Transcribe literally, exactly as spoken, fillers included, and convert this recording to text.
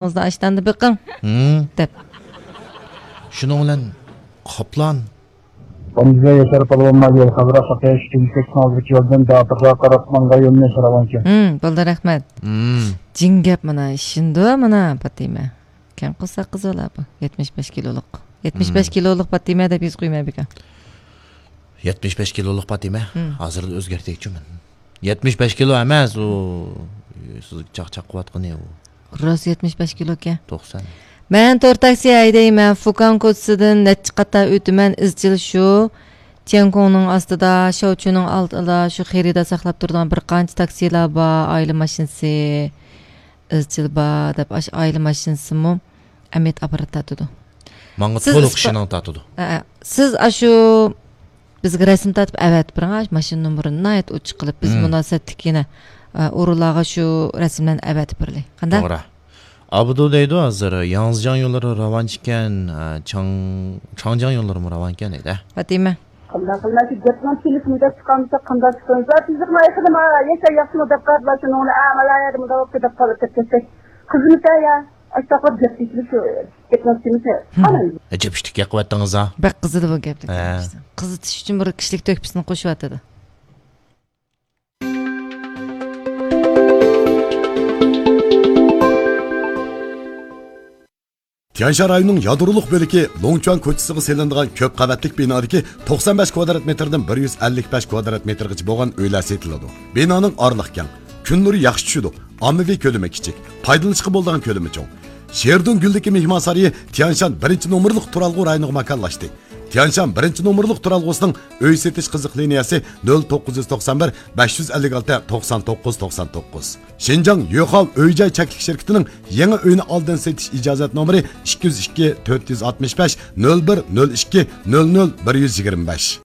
ئاشتاندا بېقىڭ، ھىم، دەپ. شۇنىڭ بىلەن قاپلان. بۇنىڭغا ياشار پالۋانما يول خەۋىرى قاتناش كىملىك ئالدىدىكى يولدىن داتۇرغا قاراپ ماڭغان يولنى سوراۋانكەن. ھىم، بولدى، رەھمەت. ھىم. جىڭ گەپ مانا، ئىشىنىدۇ مانا پاتىمە. كەڭ قورساق قىز بالا بۇ. يەتمىش بەش كىلولۇق. يەتمىش بەش، ھىم، كىلولۇق پاتىمە دەپ يېزىپ قويماي بىكار. يەتمىش بەش كىلولۇق پاتىمە. ھىم. ھازىر ئۆزگەرتەيچۇ مەن. يەتمىش بەش كىلو ئەمەس ئۇ. سىز چاقچاق قىلىۋاتقىنى ئۇ. راست يەتمىش بەش كىلوكەن. توقسان. مەن تور تاكسى ھەيدەيمەن، فۇكاڭ كوچىسىدىن نەچچە قاتا ئۆتىمەن، ئىزچىل شۇ تيەنكوڭنىڭ ئاستىدا، شاۋچۈنىڭ ئالدىدا شۇ خېرىدار ساقلاپ تۇرىدىغان بىر قانچە تاكسىلار بار، ئائىلە ماشىنىسى ئىزچىل بار دەپ، ئاشۇ ئائىلە ماشىنىسىمۇ ئەمەت ئاپپارات تارتىدۇ. ماڭا سىز تولۇق ئىسپا-، ئىشىنىڭ تارتىدۇ. ئە، ئە، سىز ئاشۇ بىزگە رەسىم تارتىپ ئەۋەتىپ بېرىڭ، ئاشۇ ماشىنا نومۇرىنى ناھايىتى ئوچۇق قىلىپ، بىز، ھىم، مۇناسىۋەتلىك يەنە، ئە، ئورۇنلارغا شۇ رەسىملەرنى ئەۋەتىپ بېرىلى. قانداق؟ توغرا. ئابدۇ دەيدۇ ھازىر، ياڭزىجياڭ يوللىرى راۋانچىكەن، ئە، چاڭ-، چاڭجياڭ يوللىرىمۇ راۋانكەن دەيدۇ. پاتىمە. قانداق قىلىمەن؟ شۇ گەپنىڭ تېلېفوندا چىقارمىسا قانداق چىقىرىمىز؟ تېزلىقنى ئايىقىدىما، ياشا ياخشىمۇ دەپ قالدىلا، شۇنىڭ بىلەن، ئە، مانا يەردە مۇنداق بولۇپتۇ دەپ قالىپ كەتسەك. قىزمىسا يا، ئاشۇنداق قىلىپ گەپ تېشىلىپ شۇ گەپنىڭ تېمىسى. ھىم. قالايمىز. ئەجەب ئىشتىك ياقىۋەتتىڭىز ھا. بەك قىزىدى بۇ گەپلىك. ھە. قىزىتىش ئۈچۈن بىر كىشىلىك تۆھپىسىنى قوشۇۋاتىدۇ. تيەنشان رايونىنىڭ يادرولۇق بۆلىكى لوڭچۈەن كوچىسىغا سېلىنىدىغان كۆپ قەۋەتلىك بىنادىكى توقسان بەش كۋادرات مېتىردىن بىر يۈز ئەللىك بەش كۋادرات مېتىرغىچە بولغان ئۆيلەر سېتىلىدۇ. بىنانىڭ ئارىلىقى كەڭ، كۈن نۇرى ياخشى چۈشىدۇ، ئاممىۋى كۆلىمى كىچىك، پايدىلىنىشقا بولىدىغان كۆلىمى چوڭ. شېردۇڭ گۈلدىكى مېھمانسارىيى تيەنشان بىرىنچى نومۇرلۇق تۇرالغۇ رايونىغا ماكانلاشتى. تيەنشان بىرىنچى نومۇرلۇق تۇرالغۇسىنىڭ ئۆي سېتىش قىزىق لىنىيەسى نۆل توققۇز يۈز توقسان بىر، بەش يۈز ئەللىك ئالتە، توقسان توققۇز، توقسان توققۇز. شىنجاڭ يۆخاۋ ئۆي جاي چەكلىك شىركىتىنىڭ يېڭى ئۆينى ئالدىن سېتىش ئىجازەت نومۇرى ئىككى يۈز ئىككى، تۆت يۈز ئاتمىش بەش، نۆل بىر، نۆل ئىككى، نۆل نۆل، بىر يۈز يىگىرمە بەش.